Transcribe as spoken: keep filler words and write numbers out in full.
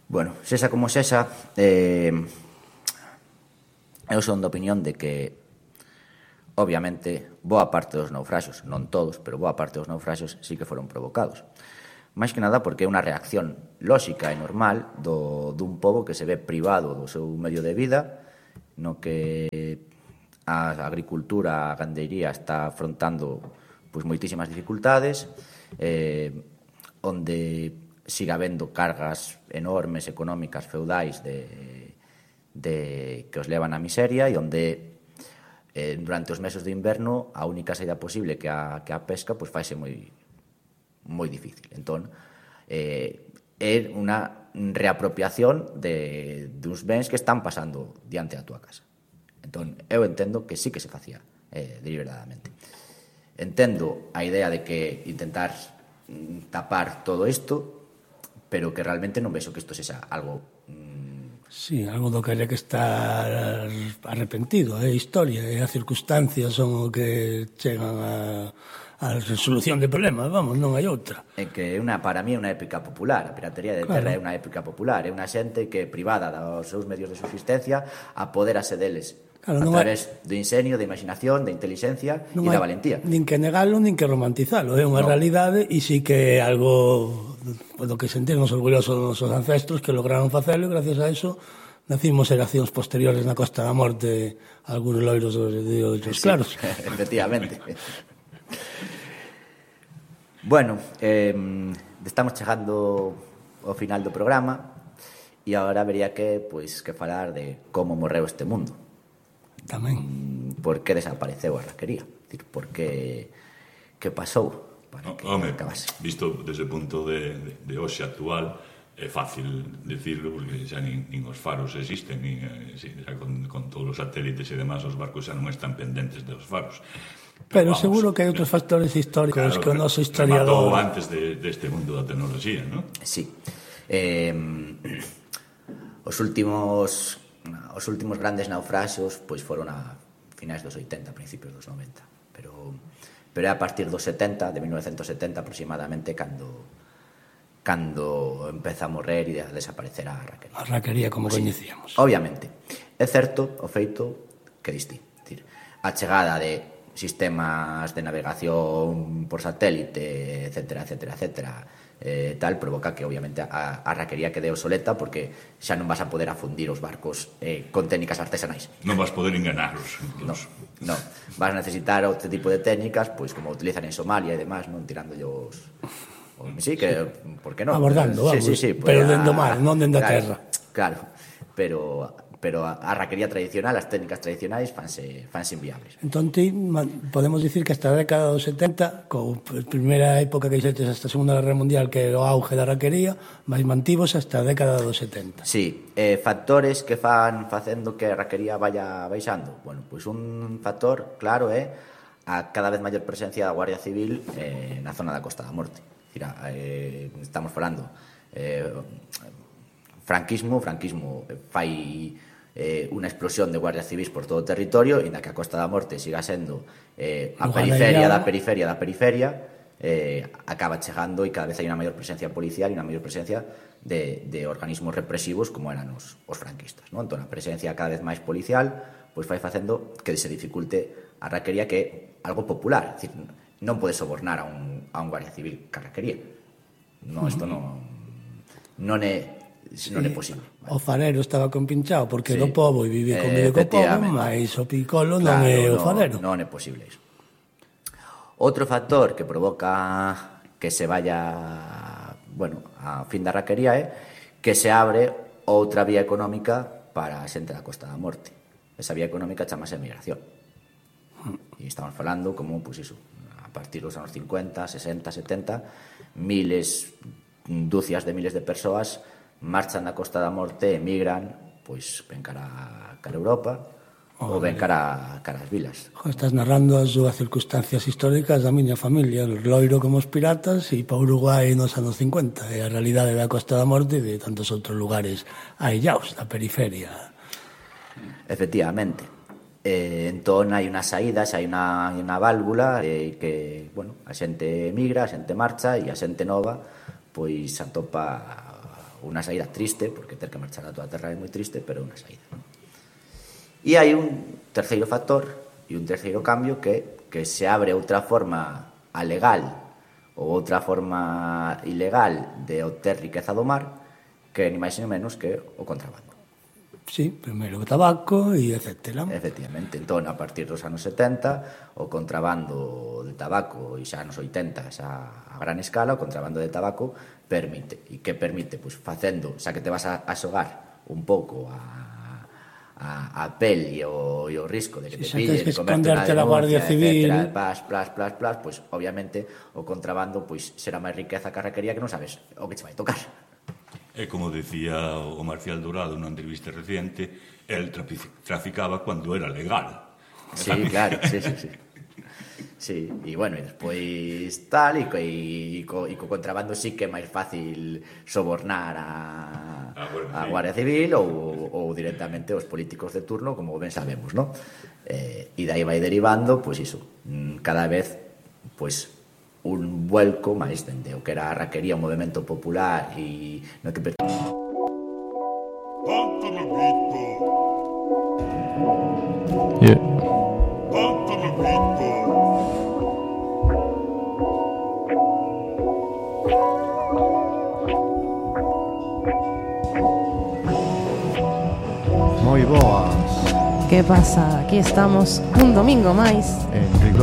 Bueno, sexa como sexa, eh, eu son da opinión de que, obviamente, boa parte dos naufraxos, non todos, pero boa parte dos naufraxos sí que foron provocados. Máis que nada porque é unha reacción lóxica e normal do, dun pobo que se ve privado do seu medio de vida, no que a agricultura, a gandeiría está afrontando pois, moitísimas dificultades, eh, onde siga habendo cargas enormes económicas feudais de, de, que os levan á miseria e onde eh, durante os meses de inverno a única saída posible que a, que a pesca pois faise moi, moi difícil. Entón, eh, é unha reapropiación de, de uns bens que están pasando diante da túa casa. Entón, eu entendo que sí que se facía eh, deliberadamente. Entendo a idea de que intentar tapar todo isto, pero que realmente non vexo que isto sexa algo... Mmm... Sí, algo do que hai que estar arrepentido, é eh? historia, e as circunstancias son o que chegan a, a resolución de problemas, vamos, non hai outra. É que una, para mí é unha épica popular, a piratería de terra claro. É unha épica popular, é unha xente que privada dos seus medios de subsistencia apoderase deles. Claro, a través hai... do ingenio, da imaginación, da inteligencia e da valentía. Nin que negalo, nin que romantizalo. É unha no. realidade e sí que é algo do que sentirnos orgullosos dos nosos ancestros que lograron facelo e gracias a eso nacimos xeracións posteriores na Costa da Morte algúns loiros de ollos sí, claros. Efectivamente. Bueno, eh, estamos chegando ao final do programa e agora habería que, pois, que falar de como morreu este mundo. Tamén. Por que desapareceu a raquería? Dicir, por que que pasou para no, que home, acabase? Visto desde o punto de, de, de hoxe actual, é fácil decirlo, porque xa nin, nin os faros existen, nin, xa con, con todos os satélites e demás, os barcos xa non están pendentes dos faros. Pero, Pero vamos, seguro que hai outros factores históricos claro, que o noso historiador... Rematou antes de, deste mundo da tecnoloxía, non? Sí. Eh, os últimos... Os últimos grandes naufraxos pois foron a finais dos oitenta, principios dos noventa, pero pero é a partir dos setenta, de mil novecentos setenta aproximadamente cando cando empeza a morrer e a desaparecer a raquería. A raquería como sí, coñecíamos. Obviamente. É certo o feito que distí, decir, a chegada de sistemas de navegación por satélite, etcétera, etcétera, etcétera, eh, tal, provoca que obviamente a, a raquería quede obsoleta porque xa non vas a poder afundir os barcos eh, con técnicas artesanais. Non vas poder enganaros. No, no. Vas a necesitar outro tipo de técnicas, pois como utilizan en Somalia e demás, non tirando os... Sí, que, por que non? Abordando, vamos, sí, sí, sí, pues, pero dentro do mar, non dentro da claro, terra. Claro, pero... pero a, a raquería tradicional, as técnicas tradicionais fanse, fanse inviables. Entón, ti, podemos dicir que hasta a década dos setenta, co primeira época que xetes hasta a Segunda Guerra Mundial, que é o auge da raquería, máis mantivos hasta a década dos setenta. Sí, eh, factores que fan facendo que a raquería vaya baixando. Bueno, pois un factor claro é a cada vez maior presencia da Guardia Civil eh, na zona da Costa da Morte. Mira, eh, estamos falando eh, franquismo, franquismo fai eh, unha explosión de guardias civis por todo o territorio e na que a Costa da Morte siga sendo eh, a periferia da periferia da periferia eh, acaba chegando e cada vez hai unha maior presencia policial e unha maior presencia de, de organismos represivos como eran os, os franquistas, non? Entón a presencia cada vez máis policial pois fai facendo que se dificulte a raquería, que é algo popular, é dicir, non podes sobornar a un, a un guardia civil ca raquería, non, isto non non é Sí, non é posible. O farero estaba compinchado porque sí. do pobo e vivía con eh, co pobo, mas o picolo claro, non é o farero. Non, non é posible iso. Outro factor que provoca que se vaya, bueno, a fin da raquería é que se abre outra vía económica para a xente da Costa da Morte. Esa vía económica chamase migración. E estamos falando como, pois iso, a partir dos anos cincuenta, sesenta, setenta, miles, dúcias de miles de persoas marchan da Costa da Morte, emigran, pois ven cara, cara a Europa oh, ou ven cara, cara as vilas. Estás narrando as dúas circunstancias históricas da miña familia, o loiro como os piratas e pa Uruguai nos anos cincuenta, e a realidade da Costa da Morte e de tantos outros lugares aillaos da periferia. Efectivamente. Eh, entón hai unha saída, xa hai unha, unha válvula eh, que, bueno, a xente emigra, a xente marcha e a xente nova pois atopa unha saída triste, porque ter que marchar a túa terra é moi triste, pero é unha saída, non? E hai un terceiro factor e un terceiro cambio que, que se abre outra forma alegal ou outra forma ilegal de obter riqueza do mar, que ni máis ni menos que o contrabando. Sí, primeiro o tabaco e etcétera. Efectivamente, entón, a partir dos anos setenta, o contrabando de tabaco, e xa nos oitenta, xa a gran escala, o contrabando de tabaco permite. E que permite? Pois facendo, xa que te vas a, a xogar un pouco a, a, a pel e o, e o risco de que te Si, pillen, que comerte unha esconderte da Guardia denuncia, Civil, etcétera, plas, plas, plas, plas, pois obviamente o contrabando pois será máis riqueza que a raquería que non sabes o que che vai tocar. E como decía o Marcial Dorado nunha entrevista reciente, el traficaba cando era legal. Sí, claro, sí, sí, sí. Sí, e bueno, e despois tal, e co, e, co, e co contrabando sí que é máis fácil sobornar a, a Guardia Civil ou, ou directamente os políticos de turno, como ben sabemos, ¿no? Eh, e dai vai derivando, pois iso, cada vez, pois, un vuelco máis dende o que era a raquería, un movimento popular e no que... Yeah. Moi boas. Que pasa? Aquí estamos un domingo máis En rigor